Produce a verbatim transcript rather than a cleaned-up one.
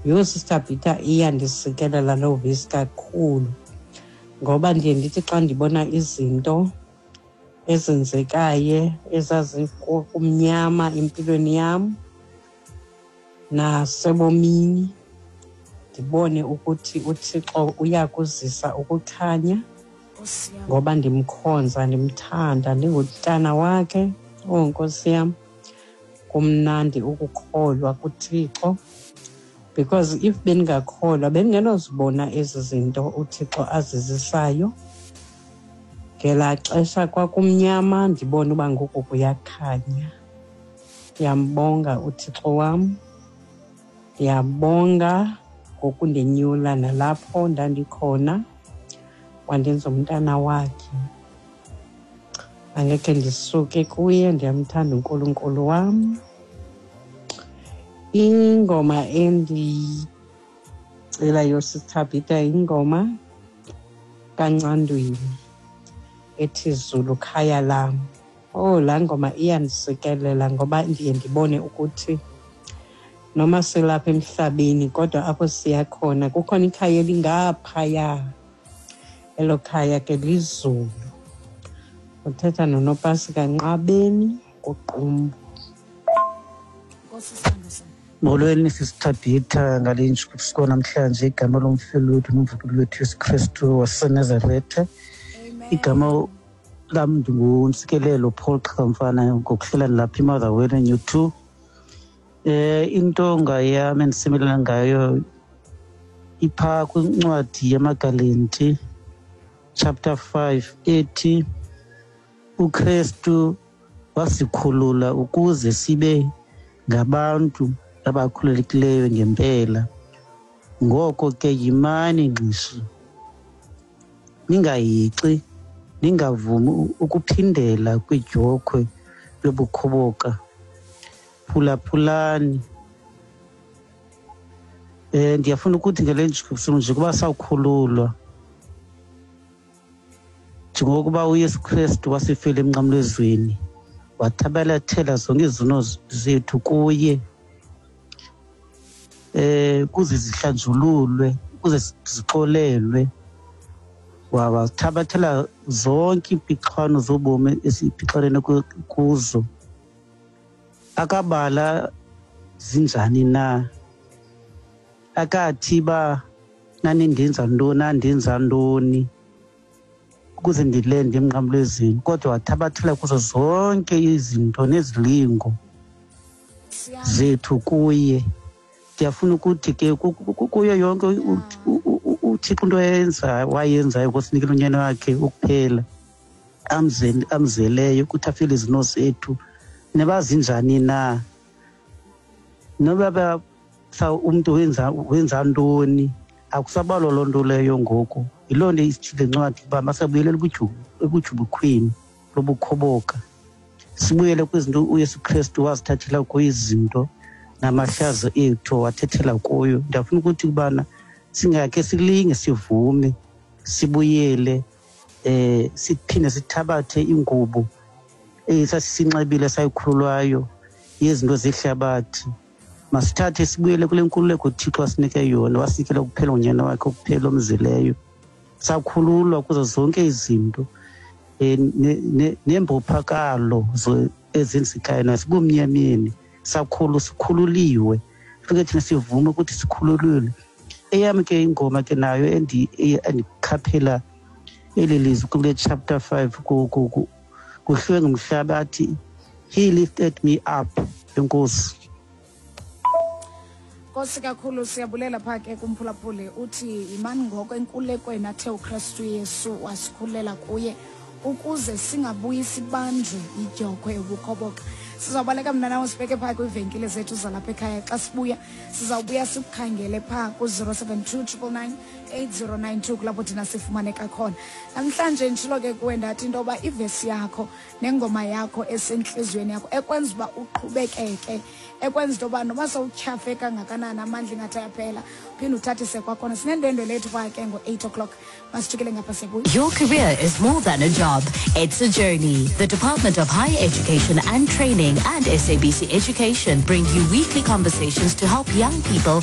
Yho, Sister Bhitha, iyandisikelela loo vesi kakhulu, ngoba ndiye ndithi xa ndibona izinto ezenzekayo ezazikumnyama empilweni yam nasebomini, ndibone ukuthi uThixo uyakuzisa ukukhanya, ngoba ndimkhonza, ndimthanda, ndingumntana wakhe. Oh Nkosi yam, kumnandi ukukholwa kuThixo, because if bendingakholwa bendingenozibona ezi zinto uThixo azizisayo. Ngelaa xesha kwakumnyama, ndibone uba ngoku kuyakhanya. Ndiyambonga uThixo wam, ndiyabonga ngokundinyula nalapho ndandikhona, wandenza umntana wakhe. Angekhe ndisuke kuye, ndiyamthanda uNkulunkulu wam. Ingoma endiyicelayo, Sister Bhitha, ingoma kaNcandweni ethi Zulu Khaya Lam. Oh, laa ngoma iyandisikelela, ngoba ndiye ndibone ukuthi noma silapha emhlabeni, kodwa apho siya khona kukhona ikhaya elingaphaya. Elo khaya ke lizulu. Uthetha noNopasi kaNqabeni kuQumbu. Nkosi, sithando sam. Molweni, Sister Bhitha, ngale ntshukubo namhlanje. Igama lomfeli wethu nomvukeli wethu Yesu Kristu waseNazaretha. Igama lam ndinguNtsikelelo Paul Xhamfana, ngokuhlala lapha eMotherwell New two. Eh intonga yam endisimelana ngayo ipha kwincwadi yamaGalati chapter five, ethi uKristu wasikhulula ukuze sibe ngabantu abakhululekileyo ngempela. Ngoko ke yimani ngxishi, ningayixi, ningavumi ukuphindela kwidyokhwe yobukhoboka. Phulaphulani. Eh ndiyafuna ukuthi ngale ntshukumo nje kuba sawukhululwa, njengokuba uYesu Kristu wasifela emnqamlezweni, wathabathela zonke izono zethu kuye, eh kuze zihlanjululwe, kuze zixolelwe. Wathabathela zonke impixwano zobomi esiphixelene kuzo. Akabala zinjani na, akathi ba nanindenza ntoni, nandenza ntoni ukuze ndilende emnqamlezweni, kodwa wathabathela kuzo zonke izinto nezilingo zethu kuye. Ndiyafuna ukuthi ke kuyo yonke uThixo into ayenzayo, wayenzayo ngosinikela unyana wakhe ukuphela amzeleyo ukuthi afele izono zethu, nebazinjani na, noba umntu wenza wenza ntoni, akusabalwa loo nto leyo ngoku. Yiloo nto isithile ncwadi uba masabuyele ebujubukhweni lobukhoboka, sibuyele kwizinto uYesu Kristu wazithathela kuyo izinto namahlazo ethu wathethela kuyo. Ndiyafuna ukuthi kubana singakhe silinge, sivume, sibuyele, eh siphinde sithabathe ingubo esasisinxibile sayikhululwayo yezinto zehlabathi. Masithathe sibuyele kule nkululeko uThixo asinike yona, wasinikela kuphela ngonyana wakhe okuphela omzileyo. Sakhululwa kuzo zonke izinto nembophakalo ezenzekayo nasibumnyameni. Sakhulu sikhululiwe, fike thina sivume ukuthi sikhululiwe. Eyam ke ingoma ke nayo endikhaphela eli lizwi kule chapter five, kuhlwe ngumhlaba, athi "He lifted me up". Enkosi. Nkosi kakhulu, siyabulela phaa ke kumphulaphuli. Uthi yimani ngoko enkululekweni athe uKristu Yesu wasikhulela kuye, ukuze singabuyi sibanjwe idyokhwe yobukhoboka. Sizawubaleka mna nawe sibheke phaa kwiivenkile zethu zalapha ekhaya. Xa sibuya sizawubuya sikukhangele phaa ku-zero seven two triple nine eight zero nine two, kulapho thina sifumaneka khona. Namhlanje nditshilo ke kuwe ndathi into yoba ivesi yakho nengoma yakho esentliziyweni yakho ekwenza uba uqhubekeke, ekwenza into yoba noba sowutyhafe kangakanani, amandla ingathi ayaphela, uphinde uthathise kwakhona. Sinendwendwe lethu phaa ke ngo-eight o'clock. Masijikele ngapha, siyabuya. Your career is more than a job. It's a journey. The Department of Higher Education and Training and S A B C Education bring you weekly conversations to help young people